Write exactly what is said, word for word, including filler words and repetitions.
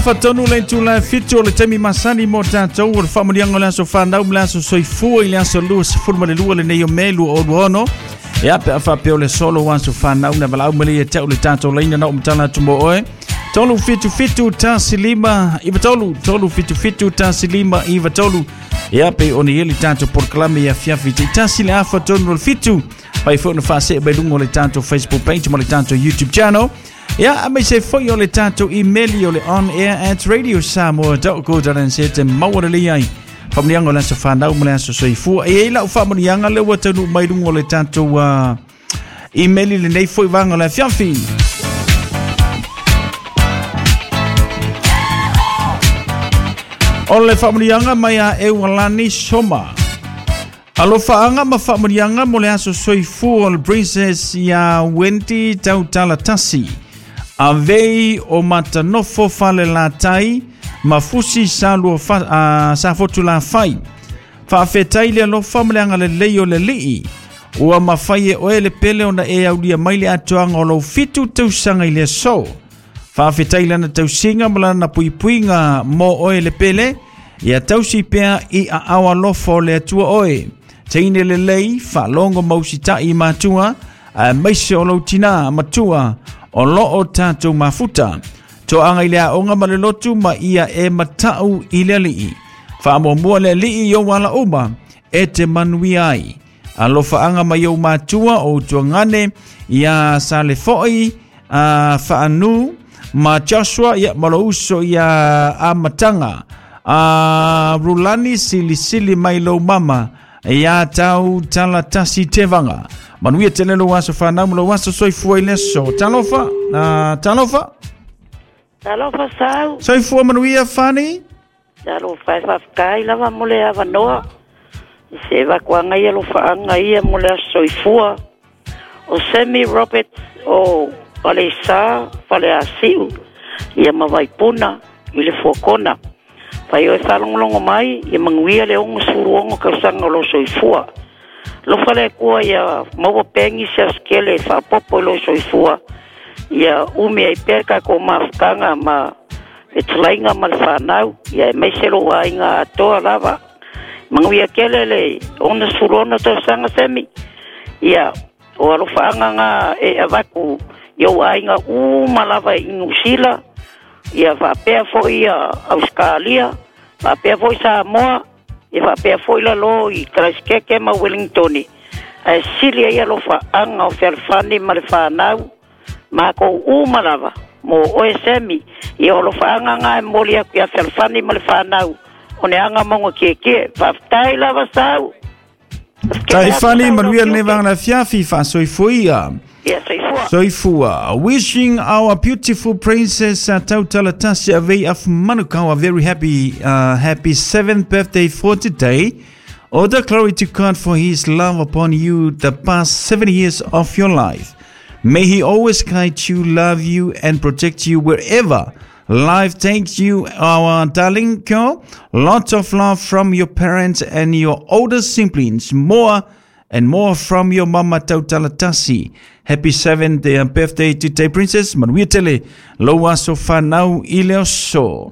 Fatonu le tula fitu o le taimi masani mo tatou o le faamanuiaga o le aso fanau ma le aso soifua i le aso lua sefulu ma le lua lenei o Me lua o lua ono. Ia pe a faapea o le solo aso fanau na valaau mai ia te au le tatou laina na o matala atu mo oe. Tolu fitu fitu tasi lima iwa tolu, tolu fitu fitu tasi lima iwa tolu. Ia pe ona i le tatou polokalame ia fiafi te tasi le afa tonu o le fitu. Pai foi na faasee mai luga o le tatou Facebook page ma le tatou YouTube channel. Ia, a mai se foi o le tatou email o le on air at radio samoa dot co dot n z te maua lelei ai. Faamanuiaga o le aso fanau ma le aso soifua. E i lau faamanuiaga le ua taunuu mai luga o le tatou uh, email lenei foi vaega o le afiafi. O le faamanuiaga mai a Eualani Soma. Alofaanga ma faamanuiaga mo le aso soifua o le Princess ia Wendy Tautalatasi. Avei o Matanofo fale latai ma fusi sa lua fa, uh, sa fotu la fai. Faafetai le alofa ma le agalelei o le lii. Ua mafai e oe le pele ona e aulia mai le atoaga o lou fitu tausaga i le aso. Faafetai lana tausiga ma lana puipuiga mo oe le pele. Ia tausi pea i aao alofa o le Atua oe. Teine lelei, faalogo mausita'i i matua, a maise o lou tinā matua o loo tatou mafuta. Toaga i le aoga ma le lotu ma ia e matau i le alii. Faamuamua le alii i ou ala uma e te manuia ai. Alofaaga mai ou matua o utuagane ia Salefoi a Faanu ma Joshua ia ma lou uso ia Amataga. A Rulani silisili mai lou mama ia tau talatasi tevaga. Manuia tele lou aso fanau ma lou aso soifua i le aso. Talofa, uh, talofa. Talofa sau. Soifua manuia Fani. Talofa e faafetai lava mo le avanoa. Se vakuanga ia alofaanga ia mo le aso soifua. O Sammy Roberts o Falesa Faleasiu ia ma Vaipuna i le Fuakona. Fai oe faalogologo mai ia manuia le ono sefulu ono tausaga o lo soifua. Lofa le Atua ia maua pea nisi aso tele e faapopo i lo soifua. Ia umi ai pea le tatou mafutaga ma fetalaiga ma le fanau. Ia e maise lou aiga atoa lava. Manuia tele le ono sefulu ono tausaga Semi. Ia o alofaaga ga e avatu i ou aiga uma lava i Niu Sila. Ia faapea foi ia Australia, faapea foi Samoa, ia faapea foi lalo i Christchurch ma Wellington. Ae sili ai alofaaga o fealofani ma le fanau, makou uma lava mo oe Semi. Ia o alofaaga ga e momoli atu ia fealofani ma le fanau o ne aga mauga tietie. Faafetai lava sau. Tai Fani manuia lenei vaega le afiafi faasoifua ia. Ia soifua. Soifua. Wishing our beautiful princess uh, Tautalatasi Avei of Manukau a very happy uh, happy seventh birthday for today. All the glory to God for his love upon you the past seven years of your life. May he always guide you, love you, and protect you wherever life takes you, our darling girl. Lots of love from your parents and your older siblings. More and more from your mama Tautalatasi. Happy seventh birthday today, princess. Manuia tele, lou aso fanau i le aso.